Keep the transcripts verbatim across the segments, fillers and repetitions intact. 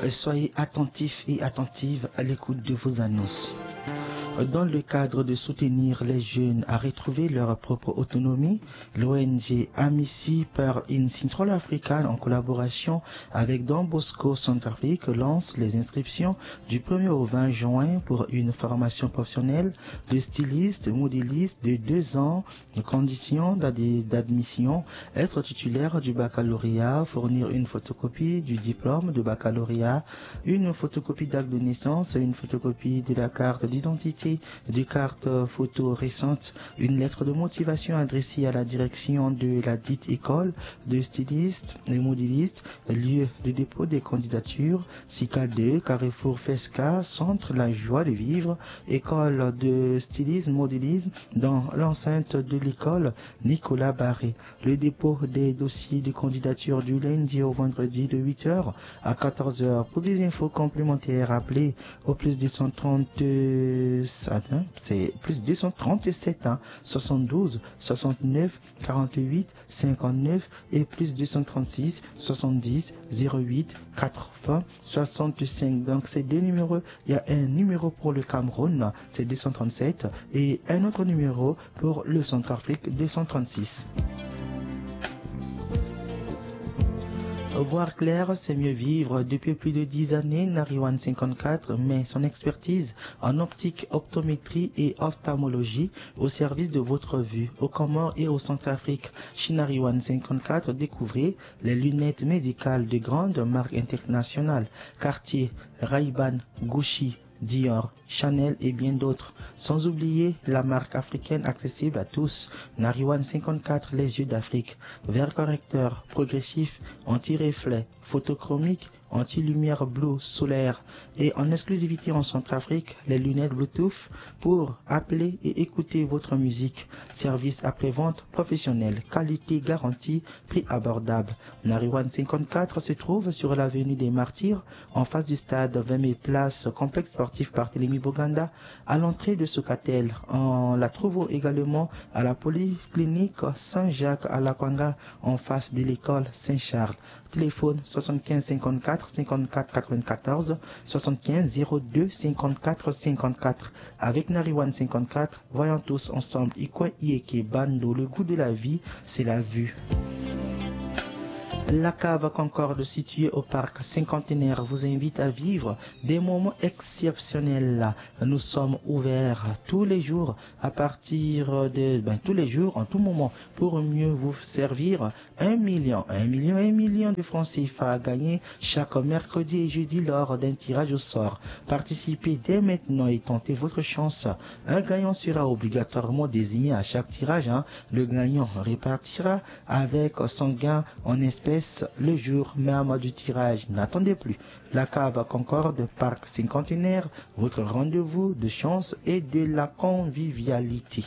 Soyez attentifs et attentives à l'écoute de vos annonces. Dans le cadre de soutenir les jeunes à retrouver leur propre autonomie, l'O N G Amici per il Central Africa, en collaboration avec Don Bosco Centrafrique, lance les inscriptions du premier au vingt juin pour une formation professionnelle de styliste, modéliste de deux ans. Conditions d'ad-, d'admission: être titulaire du baccalauréat, fournir une photocopie du diplôme de baccalauréat, une photocopie d'acte de naissance, une photocopie de la carte d'identité, des cartes photo récentes, une lettre de motivation adressée à la direction de la dite école de styliste et modéliste, lieu de dépôt des candidatures, Sika deux, carrefour Fesca, centre La Joie de Vivre, école de stylisme, modélisme, dans l'enceinte de l'école Nicolas Barré. Le dépôt des dossiers de candidature du lundi au vendredi de huit heures à quatorze heures. Pour des infos complémentaires, appelez au plus deux cent trente, euh, attends, c'est plus deux cent trente-sept, hein, soixante-douze, soixante-neuf, quarante-huit, cinquante-neuf et plus deux cent trente-six, soixante-dix, zéro huit, quatre-vingts, soixante-cinq. Donc, ces deux numéros, il y a un numéro pour le Cameroun, c'est deux cent trente-sept, et un autre numéro pour le Centrafrique, deux cent trente-six. Voir clair, c'est mieux vivre. Depuis plus de dix années, Nariwan cinquante-quatre met son expertise en optique, optométrie et ophtalmologie au service de votre vue. Aux Comores et au Centrafrique, chez Nariwan cinquante-quatre, découvrez les lunettes médicales de grandes marques internationales, Cartier, Ray-Ban, Gucci, Dior, Chanel et bien d'autres. Sans oublier la marque africaine accessible à tous, Nariwan cinquante-quatre, les yeux d'Afrique. Verre correcteur, progressif, anti-reflet, photochromique, anti-lumière bleue solaire et en exclusivité en Centrafrique, les lunettes Bluetooth pour appeler et écouter votre musique. Service après-vente professionnel, qualité garantie, prix abordable. Nariwan cinquante-quatre se trouve sur l'avenue des Martyrs, en face du stade vingt mille places, complexe sportif Barthélemy Boganda, à l'entrée de Socatel. On la trouve également à la polyclinique Saint-Jacques à Lakwanga, en face de l'école Saint-Charles. Téléphone soixante-quinze cinquante-quatre cinquante-quatre quatre-vingt-quatorze, soixante-quinze zéro deux cinquante-quatre cinquante-quatre. Avec Nariwan cinquante-quatre, voyons tous ensemble. Ikwe Ieke Bando, le goût de la vie, c'est la vue. La Cave Concorde, située au parc Cinquantenaire, vous invite à vivre des moments exceptionnels. Nous sommes ouverts tous les jours à partir de, ben, tous les jours, en tout moment, pour mieux vous servir. Un million, un million, un million de francs C F A à gagner chaque mercredi et jeudi lors d'un tirage au sort. Participez dès maintenant et tentez votre chance. Un gagnant sera obligatoirement désigné à chaque tirage, hein. Le gagnant repartira avec son gain en espèces le jour même du tirage. N'attendez plus. La Cave Concorde, Parc Cinquantenaire, votre rendez-vous de chance et de la convivialité.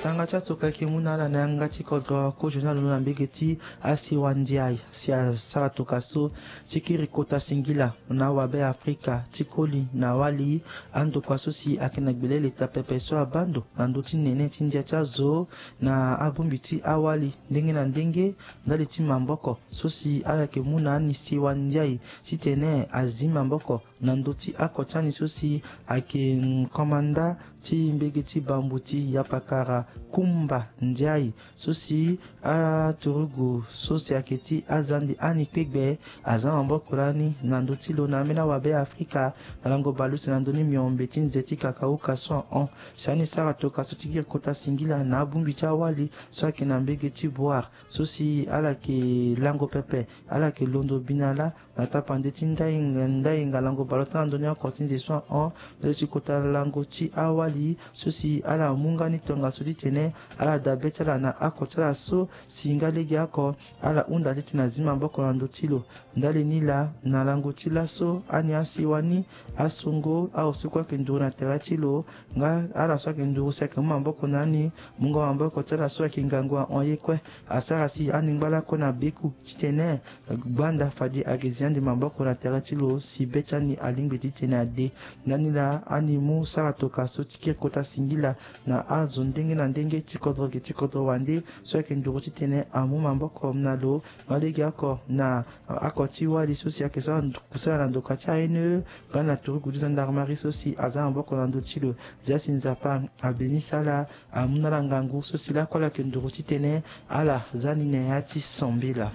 Tanga ti atoka ayeke mu na ala na yanga ti kodro kozo ni alondo na mbege ti asiwa ndiaye si asara toka so ti kiri kota singila na awabe Afrika ti koli na awali. Andokua so si ayeke na gbele leta pepe so abaa ndo na ndö ti nene ti ndia ti azo na abongbi ti awali ndenge na ndenge ndali ti maboko so si ala yeke mu na ani siwa ndiaye titene azi maboko na ndö ti oko ti ani so si ayeke komanda ti mbege ti bambu ti Yapakara Kumba Ndiaye so si aturugu so si ayeke ti azande ani kpegbe aza maboko lani na ndö ti lo na ambeni awabe Afrika na lango baleuse na ndö ni miombe ti nze ti kakauka so ahon. Si ani sara toka so ti kiri kota singila na abongbi ti awali so ayeke na mbege ti Boire so si ala yeke lango pepe, ala yeke londo bi na ala na tapande ti ndai nga, ndai nga lango baleota na ndö ni oko ti nze so ahon. Ndali ti kota lango ti awali so si ala mu nga ni tongaso titene ala dabe ti ala na oko ti ala so si nga legeoko ala hunda titene azi maboko na ndö ti lo. Ndali ni laa na lango ti laso ani asiwa ni asongo aosiko ayeke nduru na tere ti lo. Nga ala so ayeke nduru si ayeke mu maboko na ani, mungo maboko ti ala so ayeke ngangu ahon ye kue. Asara si ani ngba lakue na beku titene gbanda fade ayeke zi ande maboko na tere ti lo si be ti ani alingbi titene ade. Ndani laa ani mu sara toka so ti kiri kota singila na azo ndenge na ndenge ti kodro ge ti kodro wande so ayeke nduru titene amu maboko na lo. Nga lege oko na oko ti wali so si ayeke sara ndo- kusala na ndoka ti A N E nga na turugu ti gendarmerie so si aza maboko na ndö ti lo. Zia si Nzapa abeni sala amu na ala ngangu so si lakue ala yeke nduru titene ala za ni na ya ti sambela.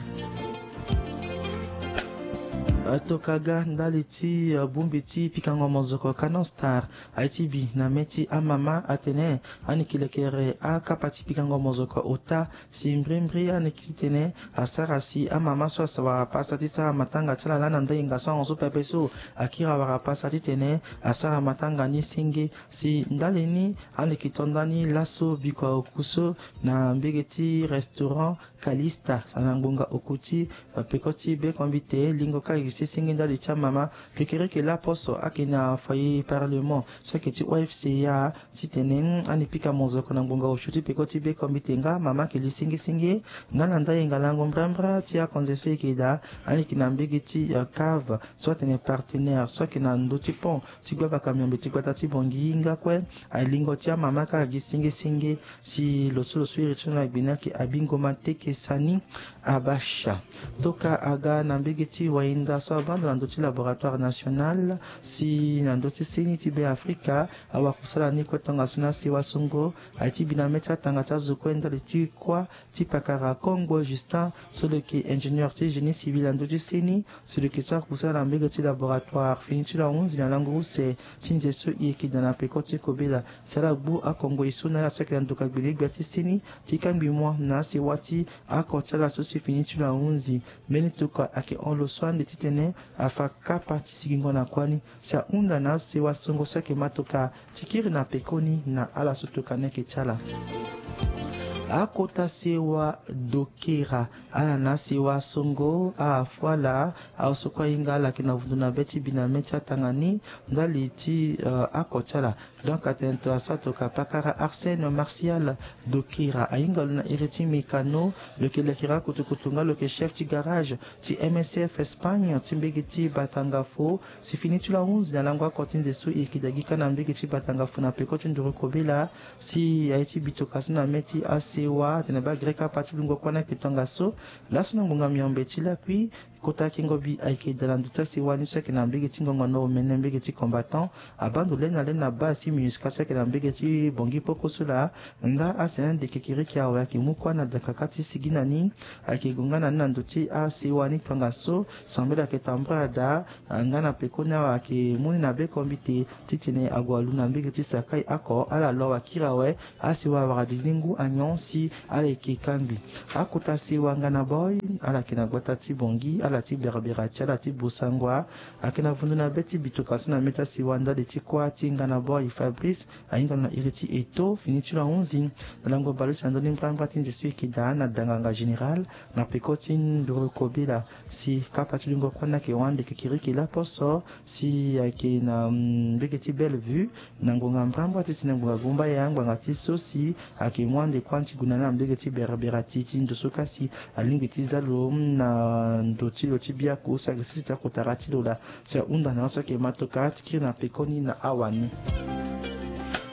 Toka ga ndali ti bongbi ti pikango mozoko Canon Star aye ti bi na mê ti amama atene ani yeke lekere akapa ti pikango mozoko ota si mbrimbri ani yeke titene asara si amama so asara pasa ti sara matanga ti ala lani na ndö hinga so ahon so pepe so akiri awara pasa titene asara matanga ni senge. Si ndali ni ani yeke to ndani laso bikua oku so na mbege ti restaurant Calista na ngbonga oku ti peko ti bekombite lingo kaka gi sesenge ndali ti amama. Kekereke laposo ayeke na foyer parlement so ayeke ti O F C A titene ani pika mozoko na ngbonga osio ti peko ti bekombite nga mama ayeke li sengesenge. Nga na ndali hinga lango mbrambra ti akonze so e yeke daa ani yeke na mbege ti cave so atene partenaire so ayeke na ndö ti pont ti gbabaka miombe ti gbata ti Bangui nga kue. Alingo ti amama kaka gi sengesenge si lo so lo so iri ti lo na gbe ni ayeke Abingo Mateke Sani Abasha. Toka aga na mbege ti wahinda so abando na ndö ti laboratoire national si na ndö ti seni ti Beafrika awakusala ni kue tongaso na sewa songo aye ti bi na mê ti atanga ti azo kue ndali ti kuâ ti pakara Kongbo Justin so lo yeke ingénieur ti génie civil na ndö ti seni. Si lo yeke sara kusala na mbege ti laboratoire fini ti lo ahunzi na lango use ti nze so e yeke daa na peko ti kobela si ala gbu akongo e so na ala so ayeke na ndoka gbele gbia ti seni ti kangbi mua na asewa ti ako ti ala so si fini ti lo ahunzi. Mbeni tokua ayeke hon lo so ande titene afa kapa ti sigingo na kuâ ni si ahunda na asewa songo so ayeke ma tokua ti kiri na pekoni na ala so tokua ni ayeke ti ala. Akota sewa dokera ala na asewa songo afu ala aosoko ahinga ala yeke na vundu na be ti bi na mê ti atanga ni ndali ti ako ti ala. Donc atene to asara tokua pakara Arsène Martial dokera ahinga lo na iri ti mécano. Lo yeke lekera kutukutu nga lo yeke chef ti garage ti M S F Espagne ti mbege ti Batangafo. Si fini ti lo ahunzi na lango oko ti nze so e yeke daa gi kâ na mbege ti Batangafo na peko ti nduru kobela si aye ti bi tokua so na mê ti asewa atene baa greka pa ti lungo kuâ ni ayeke tongaso. Laso na ngbonga miombe ti lakui kota kengo bi ayeke daa na ndö ti asewa ni so ayeke na mbege ti ngongono omene mbege ti combattant. Abando le na le na base ti MINUSCA so ayeke na mbege ti Bangui poko so laa. Nga asene ande kekereke awe ayeke mu kuâ na dakaka ti sigi na ni. Ayeke gue nga na ni na ndö ti asewa ni tongaso sambela ayeke tambula daa. Nga na pekoni awe ayeke mu ni na bekombite titene ague alu na mbege ti Sakai oko ala lo awe akiri awe. Asewa awara dili ngu anyon si ala yeke kangbi. Akota sewa nga na boy ala yeke na gbata ti Bangui ala ti berbera ti ala ti Bossangoa. Ayeke na vundu na be ti bi tokua so na mê ti asewa ndali ti kuâ ti nga na boy Fabrice ahinga lo na iri ti Eto fini ti lo ahunzi na lango bale use na ndö ni mbrambra ti nze so e yeke daa na danganga général na peko ti nduru kobela. Si kapa ti lungo kuâ ni ayeke hon ande kekereke laposo si ayeke na mbege ti Bellevue na ngonga mbrambra ti si na ngonga gumbaya ngbanga ti so si ayeke mu ande kuâ ni ti gue na ni na mbege ti berbera ti ti ndo so kasi alingbi ti za lo na ndo ti lo ti biaku so ayeke sese ti akotara ti lo laa. Si ahunda na laso ayeke ma tokua ti kiri na pekoni na awani.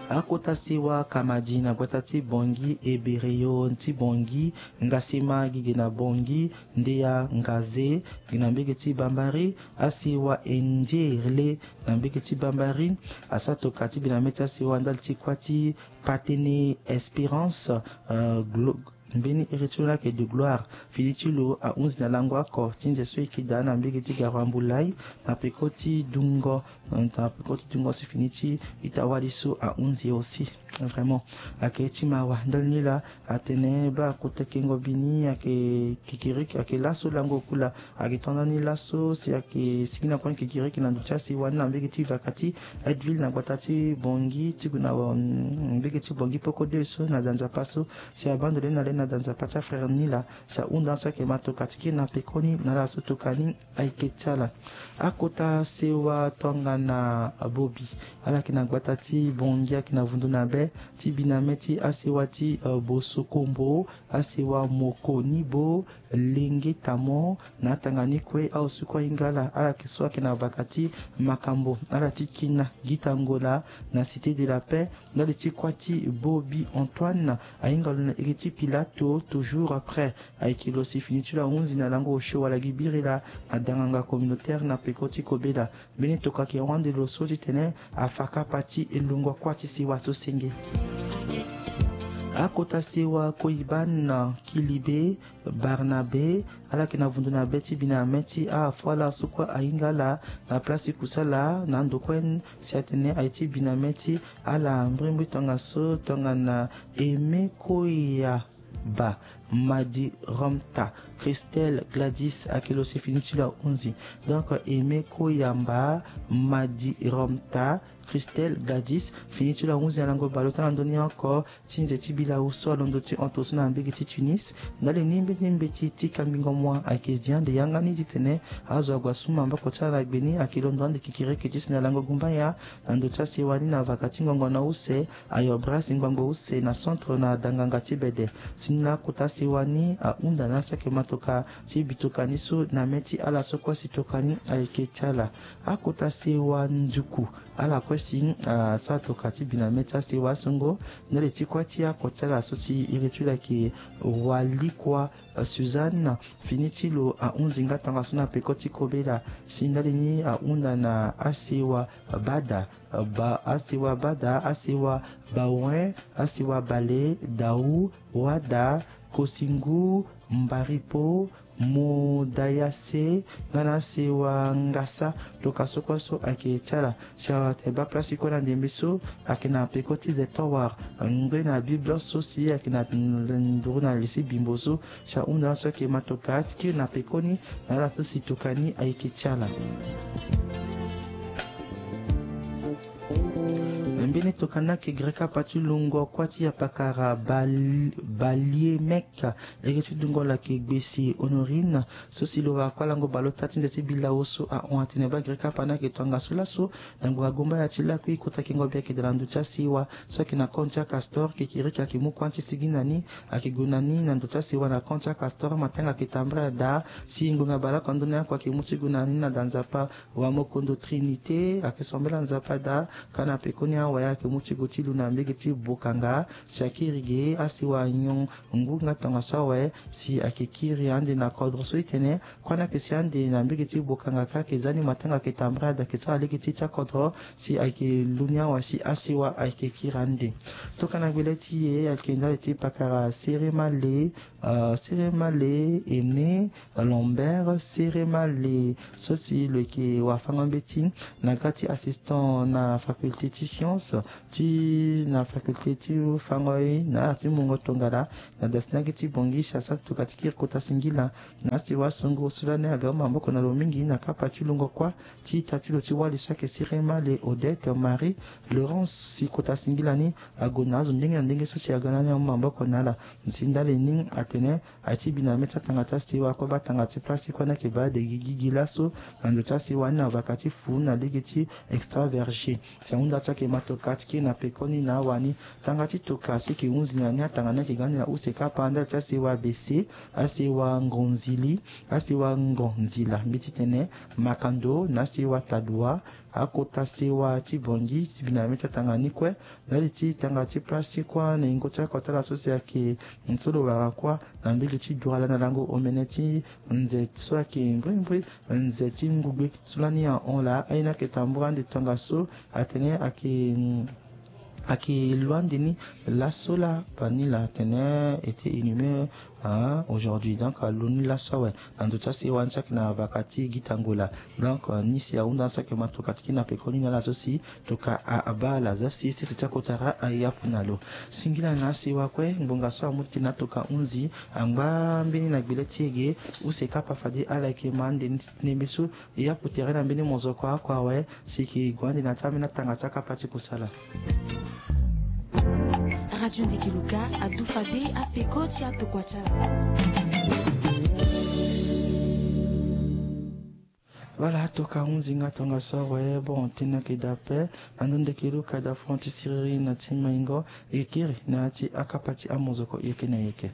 Akota sewa kamadi na gbata ti Bangui, Ebereyo ti Bangui, Ngasema gi ge na Bangui, Ndeya Ngaze gi na mbege ti Bambari, asewa Endiere na mbege ti Bambari. Asara tokua ti bi na mê ti asewa ndali ti kuâ ti Patene Espérance, euh, Glo- mbeni iri ti lo ni ayeke de Gloire fini ti lo ahunzi na lango oko ti nze so e yeke daa na mbege ti Garoua Mboulaye na peko ti dungo, na peko ti dungo si fini ti ita wali so ahunzi aussi. Vraiment ayeke ti mawa ndali ni laa. Atene baa kota kengo bi ni ayeke kikiriki ayeke laso lango kula. Ayeke to ndani laso si ayeke sigi na kue ni kikiriki na ndo ti asewa ni na mbege ti vaka ti Aidville na gbata ti Bangui ti gue na mbege ti Bangui poko de so na da Nzapa so. Si abando le na le na da Nzapa ti afrère ni laa si ahunda laso ayeke ma tokua ti kiri na pekoni na ala so tokua ni ayeke ti ala. Akota sewa tongana bobi ala yeke na gbata ti Bangui ayeke na vundu na be. ti biname ti asewa ti bosokombo, asewa moko ni bo lenge tamo na atanga ni kue. Aosu kue ahinga ala ala yeke so ayeke na baka ti makambo ala ti kina gita ngola na cité de la paix. Ndali ti kuâ ti bobi antoine ahinga lo na iri ti pilato toujours après. Ayeke lo si fini ti lo ahunzi na lango osio wala gi biri laa na danganga communautaire na peko ti kobela. Mbeni tokua ayeke hon ande lo so titene afa kapa ti lungo kuâ ti sewa so senge. Akota sewa koyiban kilibe barnabe ala yeke na vundu na be ti biname ti afu ala so kue ahinga ala na place ti kusala na ndo kue. Si atene aye ti biname ti ala mbrimbri tongaso tongana eme koya ba madi romta christelle gladys ayeke lo si fini ti lo ahunzi. Donc eme koyamba madi romta christelle gladys fini ti lo ahunzi na lango baleota na ndoni oko ti nze ti bilau so alondo ti hon toso na mbege ti tunis. Ndali ni mbeti mbeti ti kangbingo mua ayeke zi ande yanga ni titene azo ague asu maboko ti ala na gbe ni ayeke londo ande kikiriki ti si na lango gumbaya na ndo ti asewa ni na vaka ti ngongo na use. Ayo bras ngbangbo use na centre na danganga ti bede. Si ni na akota sewa ni ahunda na asaki matoka ti bitoka ni so na me ti ala so kue si toka ni ayeke ti ala. Akota sewa nduku ala kue si asara toka ti bi na me ti asewa asongo. Ndali ti kue ti ako ti ala so si iri ti lo ayeke walikua suzanne fini ti lo ahunzi nga tongaso na peko ti kobela. Si ndali ni ahunda na asewa bada ba asewa bada asewa bawen asewa bale dau wada kosingu mbaripo modayase nga na asewa ngasa. Toka so kue so ayeke ti ala si awa tene baa place ti kue na ndembe so ayeke na peko ti ze towar ngbe na bible so si ayeke na nduru na li si bimbo so si ahunda na so ayeke ma toka ti kiri na pekoni na ala so si toka ni ayeke ti ala. Mbeni tokana yeke gere kapa ti lungo kuâ ti apakara balie mek. Eke ti dungo lo ayeke gbesi honorine so si lo wara kuâ lango baleota ti nze ti bilau so ahon atene baa gere kapa ni ayeke tongaso laso. Na ngbonga gomba ya ti lakui kota kengo bi ayeke daa na ndo ti asewa so ayeke na compte ti acastor kekiriki ayeke mu kuâ ti sigi na ni. Ayeke gue na ni na ndo ti asewa na compte ti acastor matanga ayeke tambara daa si ngbonga baleoko ndo ni oko ayeke mu ti gue na ni na da nzapa. Wa mokondo trinité ayeke sombela nzapa daa. Ka na pekoni awe ayeke mu ti gue ti lu na mbege ti bokanga si akiri ge asewa nyon ngu nga tongaso awe si ayeke kiri ande na kodro so itene kuâ ni ayeke si ande na mbege ti bokanga ka ayeke za ni matanga ayeke tambara daa ayeke sara lege ti ti akodro si ayeke lu ni awe si asewa ayeke kiri ande. Tokana gbele ti e ayeke ndali ti pakara sere male sere male aimé lambert sere male so si lo yeke wafango mbeti na ga ti assistant na faculté ti science ti na faculté ti fango ye na ala ti mungo tongana na da si na gi ti bongi si asara ti toka ti kiri kota singila. Na asewa asongo so lani aga maboko na lo mingi na kapa ti lungo kuâ ti ita ti lo ti wali so ayeke sere male odette marie laurence si kota singila ni ague na azo ndenge na ndenge so si aga na ni amu maboko na ala. Si ndali ni atene aye ti bi na me ti atanga ti asewa kue baa tanga ti place ti kue ni ayeke baa de gigi gi laso na ndo ti asewa ni na vaka ti fu na lege ti extra verger. Si ahunda so ayeke ma toka ti kiri na pekoni na awani tanga ti toka so yeke hunzi na ni atanga ni ayeke ga ande na use kapa ndali ti asewa bese asewa ngonzili asewa ngonzila mbi ti tene makando na asewa tadua akota sewa ti bongi ti bi na me ti atanga ni kue. Ndali ti tanga ti place ti kuâ na ingo ti akota ala so si ayeke so lo wara kuâ na mbege ti duala na lango omene ti nze so ayeke mbrimbri nze ti ngugbe so lani ahon laa aye ni ayeke tambura ande tongaso atene ayeke ayeke lo ande ni laso la bani la atene été inhumé aujourd'hui donc alo ni laso awe na ndo ti asewa ni so ayeke na vaka ti gita ngola. Donc ni si ahunda so ayeke ma toka ti kiri na pekoni na ala so si toka abaa ala za si sese ti akotara ayapu na lo. Singila na asewa kue ngbonga so amu ti tene atoka hunzi angba mbeni na gbele ti e ge use kapa fade ala yeke ma ande ni ti tene mbi so e yapu tere na mbeni mozoko oko awe si e ke gue ande na taa mbeni atanga ti akapa ti kusala. Radio Ndeke Luka adu fade apeko ti atokua ti ala. Wala atoka hunzi nga tongaso awe bon tënë ayeke daa ape. Na ndö ndeke luka daa fon ti siriri na ti maingo. E kiri na ya ti akapa ti amozoko yeke na yeke.